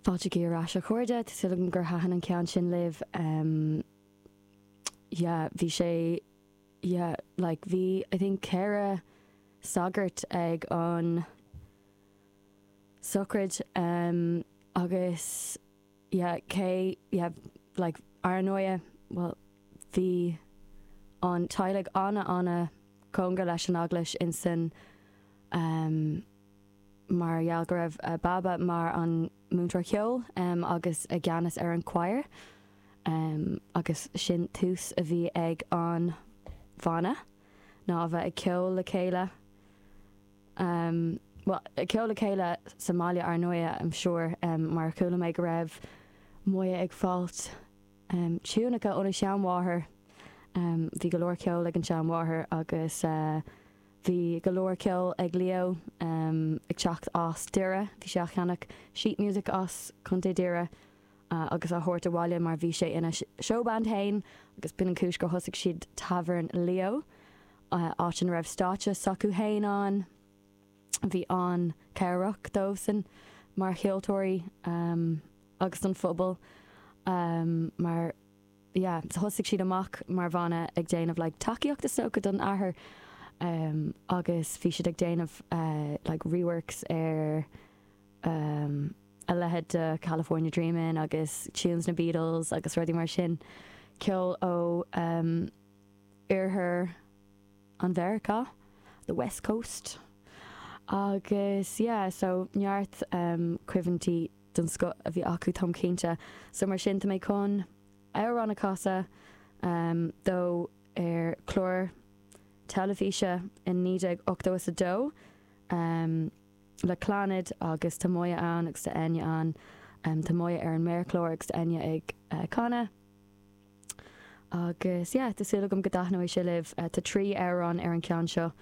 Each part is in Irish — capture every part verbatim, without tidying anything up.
Fáilte ar ais, a chairde. Tá súil agam gur thaitin an ceann sin libh. um, yeah, bhí sé, yeah, like bhí, I think, ceithre sagart ag an sochraid um, agus, yeah, cé, yeah, like ar ndóigh, well, bhí an teaghlach ana ana cóngarach leis an eaglais insan um, mar gheall go raibh uh, Baba mar an múinteoir ceoil um, agus i gceannas ar an choir um, agus sin tús a bhí ag an bhanna ná a bheith ag ceol le chéile um, well, ag ceol le chéile sa mbaile ar ndóigh, I'm sure, um, mar chuala mé go raibh Moya ag fáilt um, tiúnacha óna seanmháthair um, bhí go leor ceol ag an seanmháthair agus uh, bhí go leor ceol ag Leo um, ag teacht as Doire. Bhí sé ag ceannach sheet music as Contae Doire uh, agus á thabhairt abhaile mar bhí sé ina showband féin agus b'in an chúis gur thosaigh siad Tavern Leo uh, áit ina raibh stáitse s'acu féin ann. Bhí an cabhrach dóibhsan mar cheoltóirí um, agus an phobal um, mar, yeah, thosaigh siad amach mar bhanna ag déanamh like, tacaíocht is dócha don athair um, agus bhí siad ag déanamh uh, like reworks ar um, a leithéid de California Dreamin' agus tunes na Beatles agus rudaí mar sin, ceol ó um, oirthear an Mheiriceá, the West Coast. Agus, yeah, so neart um, cuimhní den scoth a bhí acu, táim cinnte. So mar sin tá mé chun amhrán a chasadh um, dó ar chlár teilifíse in naoi déag ochtó a dó um, le Clannad agus tá Moya ann agus tá Enya ann um, tá Moya ar an méarchlár agus Enya ag uh, canadh. Agus, yeah, tá súil agam go dtaitneoidh sé libh. uh, tá trí amhrán ar an ceann seo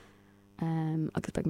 um, agus beidh mé